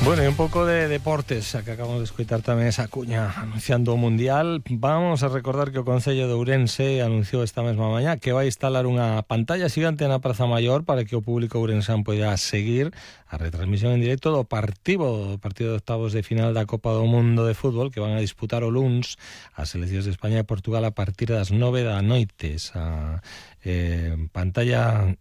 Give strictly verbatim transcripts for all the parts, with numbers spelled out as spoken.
Bueno, y un pouco de deportes, xa que acabamos de escoitar tamén esa cuña anunciando o Mundial. Vamos a recordar que o Concello de Ourense anunciou esta mesma mañá que vai instalar unha pantalla xigante na Praza Maior para que o público ourensán poida seguir a retransmisión en directo do partido, do partido de octavos de final da Copa do Mundo de Fútbol que van a disputar o luns as seleccións de España e Portugal a partir das nove da noite. Esa eh, pantalla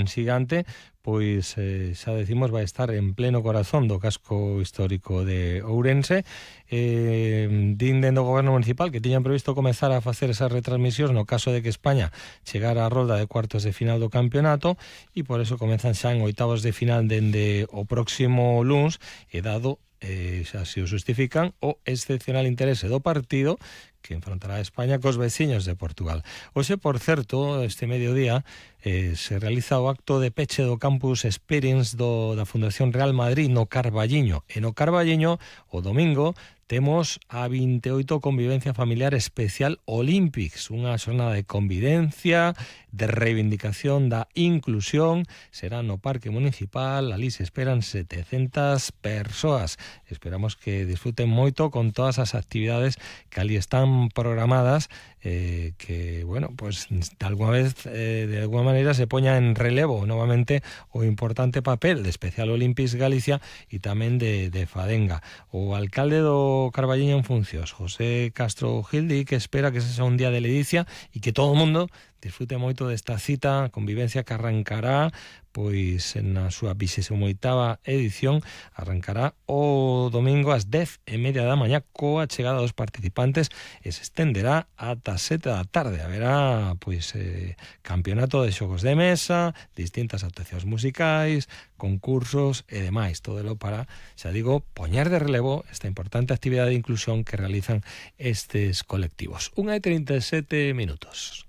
xigante, pois eh, xa decimos, vai estar en pleno corazón do casco histórico de Ourense. Eh, din dentro do goberno municipal que tiñan previsto comezar a facer esas retransmisións no caso de que España chegara á rolda de cuartos de final do campeonato, e por eso comezan xa en oitavos de final dende o próximo luns, e dado eh, xa se o justifican o excepcional interese do partido que enfrontará a España cos veciños de Portugal. Hoxe, por certo, este mediodía eh, se realiza o acto de peche do Campus Experience do, da Fundación Real Madrid no Carballiño. E no Carballiño, o domingo, temos a vinte e oito Convivencia Familiar Especial Olympics, unha xornada de convivencia, de reivindicación da inclusión. Será no Parque Municipal, ali se esperan setecentas persoas. Esperamos que disfruten moito con todas as actividades que ali están programadas, eh, que, bueno, pues de alguna vez, eh, de alguna maneira se poña en relevo novamente o importante papel de Especial Olympics Galicia e tamén de, de Fadenga. O alcalde do Carballiño en funcións, José Castro Gildi, que espera que ese sea un día de ledicia e que todo o mundo disfrute moito desta cita, convivencia que arrancará pois na súa vixésima oitava edición, arrancará o domingo ás dez e media da mañá coa chegada dos participantes e se estenderá ata sete da tarde. Haberá pois eh, campeonato de xogos de mesa, distintas actuacións musicais, concursos e demais, todo lo para, xa digo, poñer de relevo esta importante actividade de inclusión que realizan estes colectivos. Unha e trinta e sete minutos.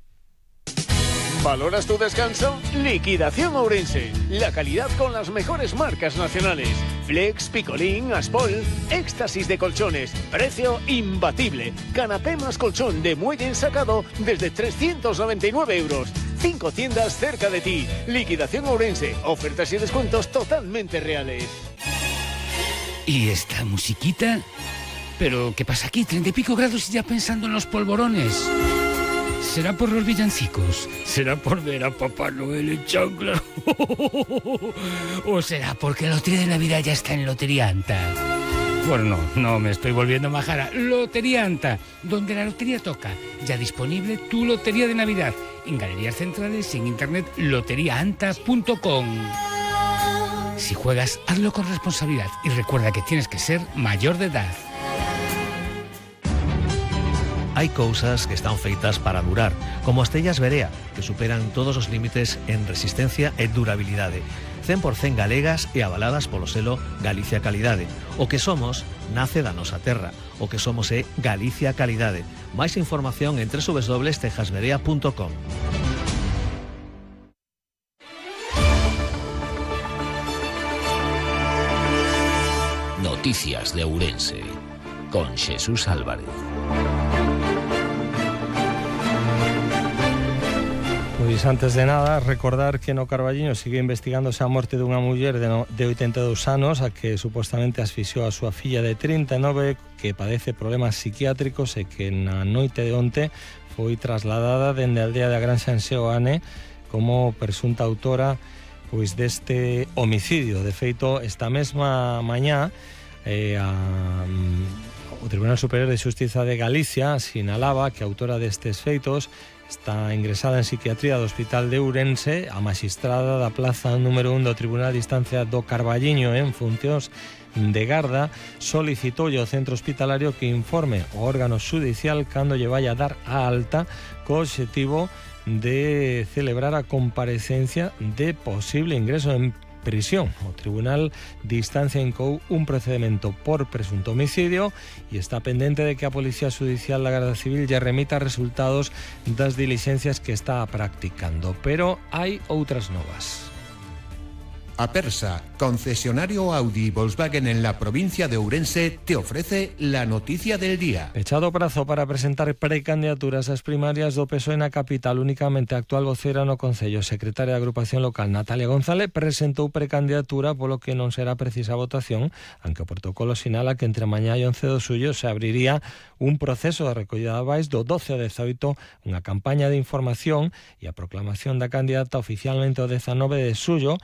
¿Valoras tu descanso? Liquidación Ourense. La calidad con las mejores marcas nacionales. Flex, Picolín, Aspol, éxtasis de colchones. Precio imbatible. Canapé más colchón de muelle ensacado desde trescientos noventa y nueve euros. Cinco tiendas cerca de ti. Liquidación Ourense. Ofertas y descuentos totalmente reales. ¿Y esta musiquita? ¿Pero qué pasa aquí? Treinta y pico grados y ya pensando en los polvorones. ¿Será por los villancicos? ¿Será por ver a Papá Noel en chancla? ¿O será porque la lotería de Navidad ya está en Loterianta? Bueno, no, no me estoy volviendo majara. Loterianta, donde la lotería toca. Ya disponible tu lotería de Navidad. En galerías centrales y en internet lotería anta punto com. Si juegas, hazlo con responsabilidad y recuerda que tienes que ser mayor de edad. Hai cousas que están feitas para durar, como as tellas Berea, que superan todos os límites en resistencia e durabilidade. cen por cento galegas e avaladas polo selo Galicia Calidade. O que somos nace da nosa terra. O que somos é Galicia Calidade. Máis información en doble u doble u doble u punto tejas berea punto com. Noticias de Ourense con Xesús Álvarez. Pois antes de nada, recordar que no Carballiño sigue investigándose a morte dunha muller de, no, de oitenta e dous anos a que supostamente asfixiou a súa filla de trinta e nove que padece problemas psiquiátricos e que na noite de onte foi trasladada dende a aldea da Granxa en Seoane como presunta autora pois deste homicidio. De feito, esta mesma mañá eh, a, o Tribunal Superior de Xustiza de Galicia sinalaba que a autora destes feitos está ingresada en psiquiatría do Hospital de Ourense. A magistrada da plaza número un do Tribunal de Instancia do Carballiño en funcións de garda solicitoulle ao centro hospitalario que informe o órgano xudicial cando lle vai a dar a alta co obxectivo de celebrar a comparecencia de posible ingreso en prisión. O Tribunal de Instancia incou un procedimento por presunto homicidio e está pendente de que a Policía Judicial da Garda Civil lle remita resultados das dilixencias que está practicando. Pero hai outras novas. Apersa, concesionario Audi y Volkswagen en la provincia de Ourense, te ofrece la noticia del día. Pechado prazo para presentar precandidaturas ás primarias do P S O E na capital. Únicamente a actual vocera no Concello, secretaria de Agrupación Local, Natalia González, presentou precandidatura, polo que non será precisa votación, aunque o protocolo sinala que entre mañá e once do xullo se abriría un proceso de recollida de avais do doce ao dezaoito, unha campaña de información e a proclamación da candidata oficialmente o dezanove de xullo,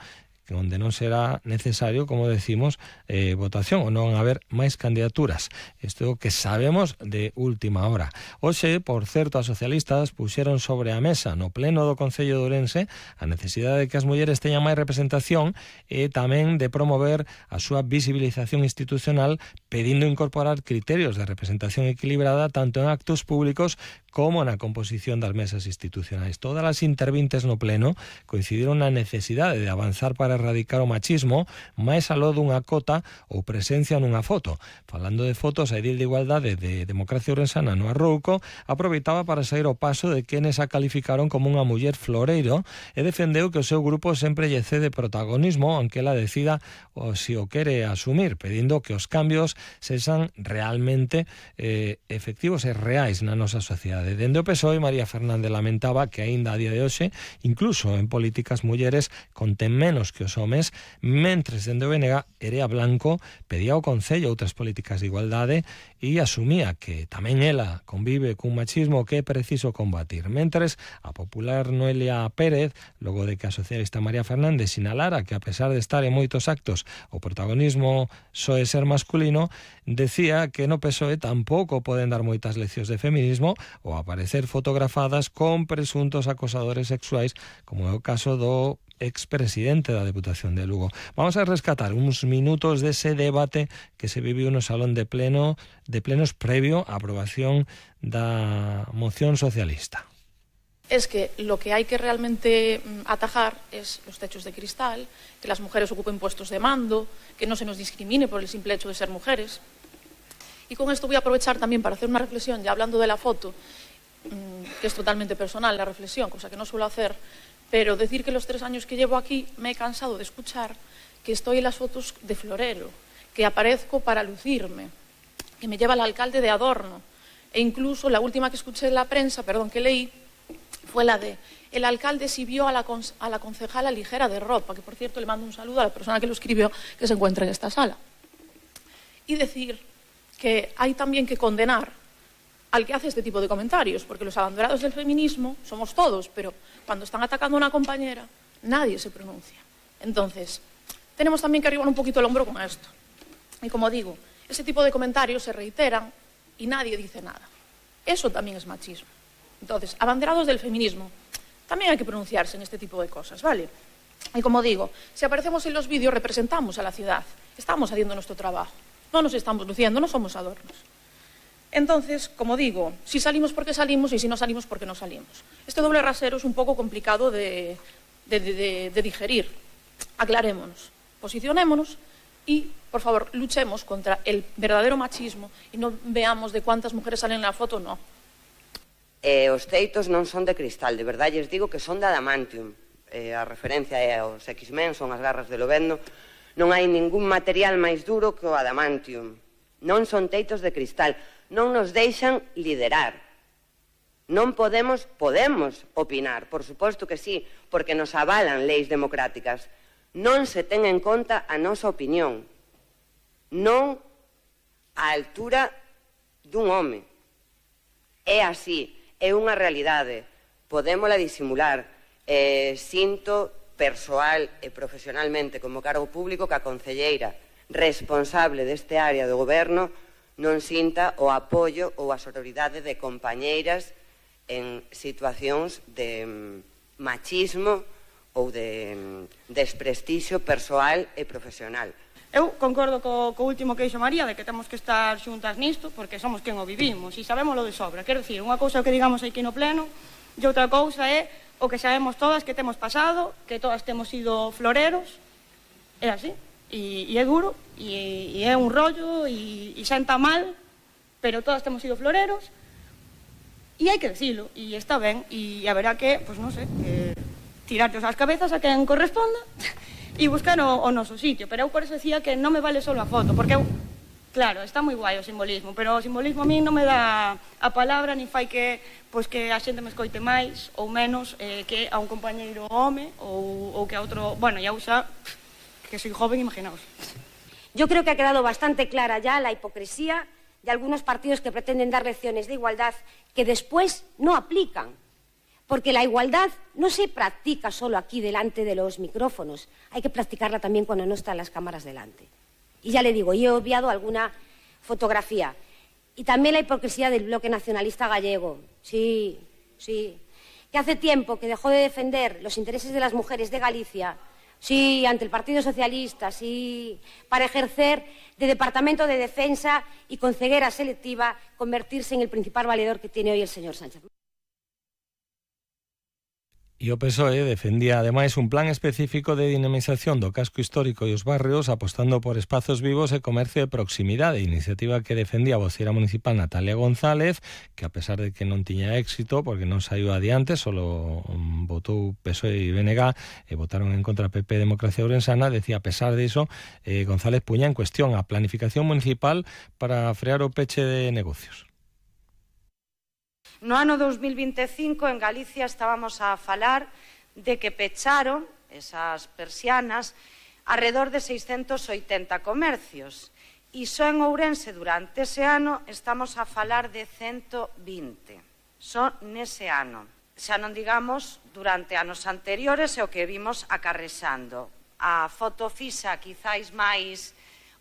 onde non será necesario, como decimos, eh, votación, ou non haber máis candidaturas. Isto é o que sabemos de última hora. Hoxe, por certo, as socialistas puxeron sobre a mesa no pleno do Concello de Ourense a necesidade de que as mulleres teñan máis representación e tamén de promover a súa visibilización institucional, pedindo incorporar criterios de representación equilibrada tanto en actos públicos como na composición das mesas institucionais. Todas as intervintes no pleno coincidiron na necesidade de avanzar para erradicar o machismo máis aló dunha cota ou presencia nunha foto. Falando de fotos, a edil de Igualdade de Democracia Ourensana no Arrouco aproveitaba para sair o paso de quenes a calificaron como unha muller floreiro e defendeu que o seu grupo sempre lle cede protagonismo aunque ela decida o si o quere asumir, pedindo que os cambios sexan realmente eh, efectivos e reais na nosa sociedade. Dende o P S O E, María Fernández lamentaba que aínda a día de hoxe, incluso en políticas mulleres, conten menos que os homes, mentres dende o B N G Erea Blanco pedía ao Concello outras políticas de igualdade e asumía que tamén ela convive cun machismo que é preciso combatir. Mentres a popular Noelia Pérez, logo de que a socialista María Fernández sinalara que a pesar de estar en moitos actos o protagonismo soe ser masculino, decía que no P S O E tampouco poden dar moitas leccións de feminismo ou aparecer fotografadas con presuntos acosadores sexuais, como é o caso do expresidente da Deputación de Lugo. Vamos a rescatar uns minutos dese debate que se viviu no salón de pleno de plenos previo á aprobación da moción socialista. Es que lo que hay que realmente atajar es los techos de cristal, que las mujeres ocupen puestos de mando, que no se nos discrimine por el simple hecho de ser mujeres. Y con esto voy a aprovechar también para hacer una reflexión, ya hablando de la foto, que es totalmente personal la reflexión, cosa que no suelo hacer, pero decir que los tres años que llevo aquí me he cansado de escuchar que estoy en las fotos de florero, que aparezco para lucirme, que me lleva el alcalde de adorno, e incluso la última que escuché en la prensa, perdón, que leí, fue la de el alcalde si vio a la, a la concejala ligera de ropa, que por cierto le mando un saludo a la persona que lo escribió, que se encuentra en esta sala. Y decir que hay también que condenar al que hace este tipo de comentarios, porque los abanderados del feminismo somos todos, pero cuando están atacando a una compañera, nadie se pronuncia. Entonces, tenemos también que arribar un poquito el hombro con esto. Y como digo, ese tipo de comentarios se reiteran y nadie dice nada. Eso también es machismo. Entonces, abanderados del feminismo, también hay que pronunciarse en este tipo de cosas, ¿vale? Y como digo, si aparecemos en los vídeos, representamos a la ciudad, estamos haciendo nuestro trabajo, no nos estamos luciendo, no somos adornos. Entonces, como digo, si salimos porque salimos y si no salimos porque no salimos. Este doble rasero es un poco complicado de, de, de, de digerir. Aclarémonos, posicionémonos y, por favor, luchemos contra el verdadero machismo y no veamos de cuántas mujeres salen en la foto, no. Eh, os teitos non son de cristal, de verdade lles digo que son de adamantium. Eh, a referencia é aos X-Men, son as garras de Lobezno. Non hai ningún material máis duro que o adamantium. Non son teitos de cristal. Non nos deixan liderar. Non podemos, podemos opinar, por suposto que sí, porque nos avalan leis democráticas. Non se ten en conta a nosa opinión. Non á altura dun home. É así. É unha realidade, podémola disimular. Eh, sinto persoal e profesionalmente como cargo público que a concelleira responsable deste área do goberno non sinta o apoio ou a sororidade de compañeiras en situacións de machismo ou de desprestixio persoal e profesional. Eu concordo co, co último que dixo María, de que temos que estar xuntas nisto, porque somos quen o vivimos, e sabemos lo de sobra. Quero dicir, unha cousa que digamos aquí no pleno, e outra cousa é o que sabemos todas que temos pasado, que todas temos sido floreros, é así, e, e é duro, e, e é un rollo, e, e senta mal, pero todas temos sido floreros, e hai que decilo, e está ben, e haberá que, pois non sei, eh, tirarlos ás cabezas a quen corresponda, e buscar o, o noso sitio, pero eu por eso decía que non me vale só a foto, porque eu, claro, está moi guai o simbolismo, pero o simbolismo a mí non me dá a palabra, ni fai que, pois, que a xente me escoite máis ou menos eh, que a un compañeiro home ou, ou que a outro, bueno, ya usa, que soy joven, imaginaos. Yo creo que ha quedado bastante clara ya la hipocresía de algunos partidos que pretenden dar lecciones de igualdad que después no aplican. Porque la igualdad no se practica solo aquí delante de los micrófonos, hay que practicarla también cuando no están las cámaras delante. Y ya le digo, yo he obviado alguna fotografía. Y también la hipocresía del bloque nacionalista gallego. Sí, sí. Que hace tiempo que dejó de defender los intereses de las mujeres de Galicia, sí, ante el Partido Socialista, sí, para ejercer de Departamento de Defensa y con ceguera selectiva convertirse en el principal valedor que tiene hoy el señor Sánchez. E o P S O E defendía ademais un plan específico de dinamización do casco histórico e os barrios apostando por espazos vivos e comercio de proximidade, iniciativa que defendía a voceira municipal Natalia González, que a pesar de que non tiña éxito porque non saiu adiante, solo votou P S O E e B N G e votaron en contra P P e Democracia Ourensana, decía a pesar de iso, eh, González puña en cuestión a planificación municipal para frear o peche de negocios. No ano dos mil vinte e cinco en Galicia estábamos a falar de que pecharon esas persianas alrededor de seiscentos oitenta comercios e só en Ourense durante ese ano estamos a falar de ciento vinte, só nese ano. Xa non digamos durante anos anteriores e o que vimos acarrexando. A foto fixa quizáis máis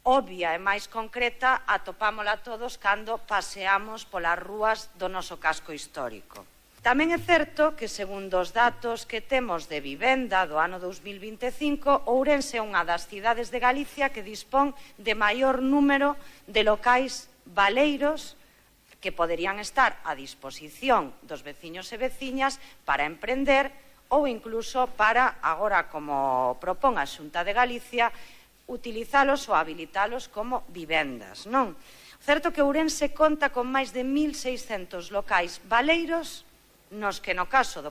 obvia e máis concreta atopámola todos cando paseamos polas rúas do noso casco histórico. Tamén é certo que, segundo os datos que temos de vivenda do ano dos mil vinte e cinco, Ourense é unha das cidades de Galicia que dispón de maior número de locais baleiros que poderían estar a disposición dos veciños e veciñas para emprender ou incluso para, agora como propón a Xunta de Galicia, utilizalos ou habilitalos como vivendas, non? O certo que Ourense conta con máis de mil seiscentos locais baleiros nos que no caso do